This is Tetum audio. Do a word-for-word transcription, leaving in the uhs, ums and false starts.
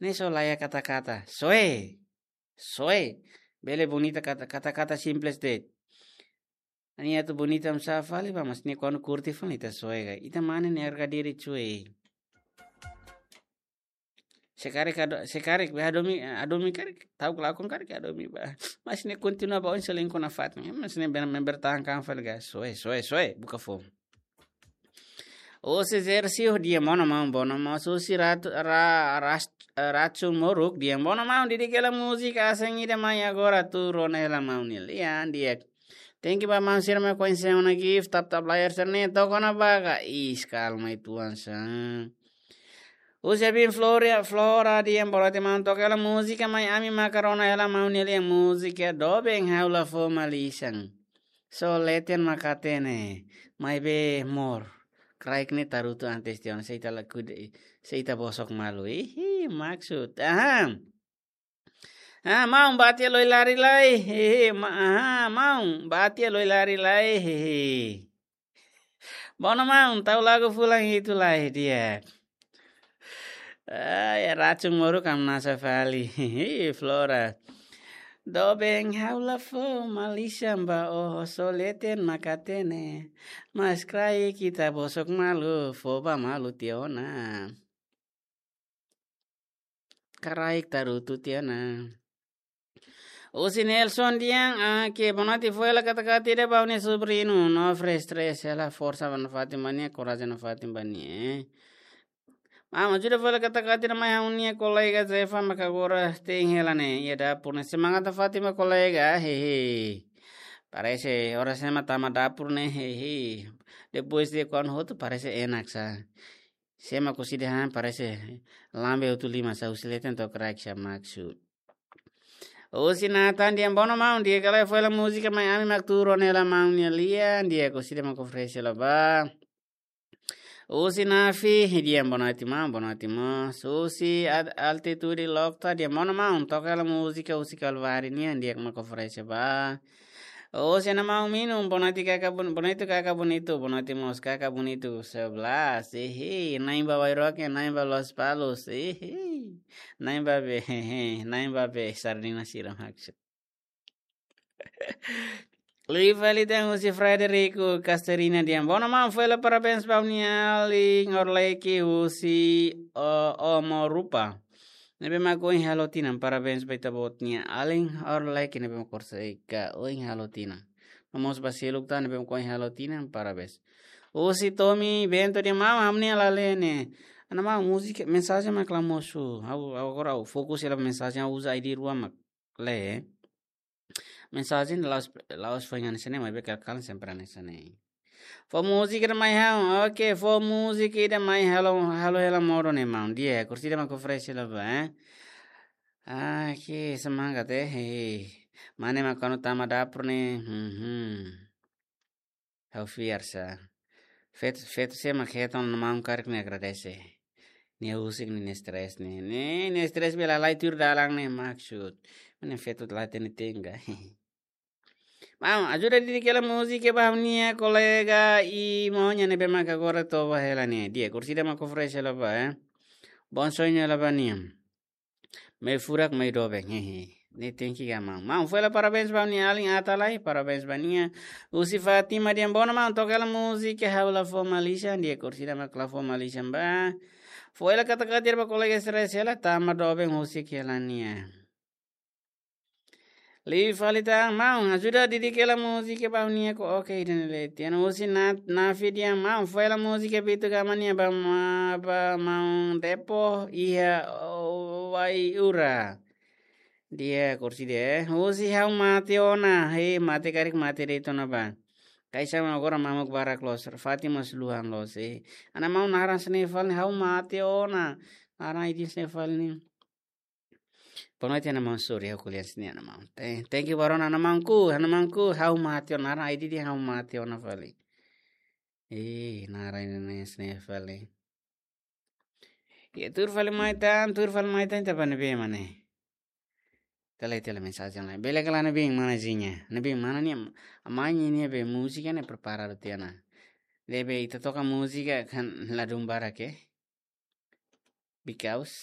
Ne'e só laiha kata-kata. Soe. Soe. Bele bonita kata, kata-kata simples de'it. Nia atu bonita hamsá fali ba, mas nia kuandu kurti fali ita soe ka. Ita mane ne'e harga diri cuy. Se karik ado, se karik be hadomi, hadomi karik, ta'uk lakon karik hadomi ba. Mas nia kontinua ba oin selingkuh nafatin. Mas nia bele membertahankan fali ka. Soe, soe, soe. Buka foun. Husi Zersio, di'ak, bono maun, bono maun. Husi ratu, ra, ras, racun moruk, di'ak, bono maun. Didik hela múzika asing ida mai agora tuur ona hela maun nia lian, di'ak. Thank you ba maun sira mak koñese ona gift, tap tap layar sira-ne'e, toka ona ba ka. Ih, kalma uitoan sa. Husi Abin Flora, Flora, di'ak, bonoite maun, toka hela múzika mai ami maka rona hela maun nia lian, múzika doben ha'u la fó malisan. Só leten mak hatene, maibé mós kraik ne'e tarutu antes tiha ona, se ita la kude, se ita bosok malu. Ihi, maksud. Aha. Ah, maun, bá tiha lori lari lai. Hehe, ma-, aha, maun, bá tiha lori lari lai. Hehe. Bono maun, tau lagu fulan hitu lai, di'ak. Ah, ya racun moruk hamnasa fali. Flora. Doben ha'u la fó malisan ba ó, só leten mak hatene. Mas kraik ita bosok malu, fó ba malu tiha ona. Kraik tarutu tiha ona. Husi Nelson, di'ak, ah, ke bonoite, fó hela kata-kata ida ba ha'u-nia sobriñu, no fresh stress, hela forsa nafatin ba nia, korajen nafatin ba nia, eh. Maun, ajuda fó hela kata-kata ida mai ha'u-nia kolega Zefa mak agora te'in hela ne'e iha dapur ne'e. Semangat nafatin ba kolega, hehe. Parese oras ema tama dapur ne'e, hehe. Depois de kuandu hotu parese enak sa. Se ema koside han parese lambe hotu liman sa, husi leten to'o kraik sa, maksud. Husi Nathan, di'ak, bono maun, di'ak, ka lae, fó hela múzika mai ami mak tuur ona hela maun nia lian, di'ak, koside mak oferese hela ba. Husi Nafi, di'ak, bonoite maun, bonoite maun. Husi Ad-, Altitude Lokta, di'ak, bono maun, toka hela múzika husi Kalvari nian, di'ak, mak oferese ba. Husi Ana Maun Minu, bonoite kaka bun-, bonoite kaka bonitu, bonoite mós kaka bonitu sebelas. Ihi, na'in ba Wairoke, na'in ba Lospalos. Ihi, na'in ba be, hehe, na'in ba be, sardina sira maksud. Liu fali tan husi Frederico Casterina, di'ak, bono maun, fó hela parabéns ba ha'u-nia alin Orleki husi, o, Omorupa. Ne'ebé mak ohin halo tinan, parabéns ba ita-boot nia alin Orleki ne'ebé mak orsida ohin halo tinan. No mós ba seluk tan ne'ebé mak ohin halo tinan, parabéns. Husi Tommy Bento, di'ak, maun, ha'u-nia la lee ne'e. Ana maun, múzika, mensajen mak la mosu. Ha'u, ha'u agora ha'u fokus hela mensajen, ha'u uza I D rua mak lee. Mensajen la'ós, la'ós foin hanesan ne'e, maibé kal-kal sempre hanesan ne'e. Fó múzika ida mai ha'u, oke, fó múzika ida mai halo, halo hela modo ne'e maun. Di'ak, orsida mak oferese hela ba, eh. Ah, ke semangat, eh, eh. Mane mak kuandu tama dapur ne'e, hmm, hmm. Ha'u fiar sa. Feto, feto sé mak hetan ona maun karik ne'e agradese. Nia husik nia stress ne'e. Ne'e, nia stress bele halai tuir dalan ne'e maksud. Mane feto la hatene tenga. Maun, ajuda didik hela múzika ba ha'u-nia kolega i moña ne'ebé mak agora toba hela ne'e. Di'ak, orsida mak oferese hela ba, eh. Bom sonho hela ba nia. Meiu furak, meiu doben, hehe. Ne'e tenke ka maun. Maun, fó hela parabéns ba ha'u-nia alin Atalay, parabéns ba nia. Husi Fátima, di'ak, bono maun, toka hela múzika ha'u la fó malisan, di'ak, orsida mak la fó malisan ba. Fó hela kata-kata ida ba kolega stress hela, tama doben husik hela nia. Liu fali tan, maun, ajuda didik hela múzika ba ha'u-nia ko, oke, ida-ne'e lee tiha ona. Husi Na-, Nafi, di'ak, maun, fó hela múzika Bitu Gama nian ba ma-, ba maun Depo iha, o, Waiura. Di'ak, orsida, eh. Husi Ha'u Mate Ona, he, mate karik mate de'it ona ba. Kaisa mak agora mamuk barak loos, Fátima mós luhan loos, eh. Ana maun, naran sira-ne'e fali, Ha'u Mate Ona. Naran I D sira-ne'e fali ne'e. Bonoite Ana Maun, sorry, ha'u ko'alia hanesan ne'e Ana Maun. Te-, thank you ba rona Ana Maunku, Ana Maunku, Ha'u Mate Ona, naran I D dehan Ha'u Mate Ona fali. Eh, naran ida-ne'e hanesan ne'e fali. Ya, tuur fali mai tan, tuur fali mai tan, ita bá ne'ebé mak ne'e. Ita lee, ita lee mensajen lai. Bele ka lae, ne'ebé mana, Zinha? Ne'ebé mana nia, amanhã nia be múzika ne'e preparadu tiha ona. Ne'ebé ita toka múzika kan ladún barak, eh. Because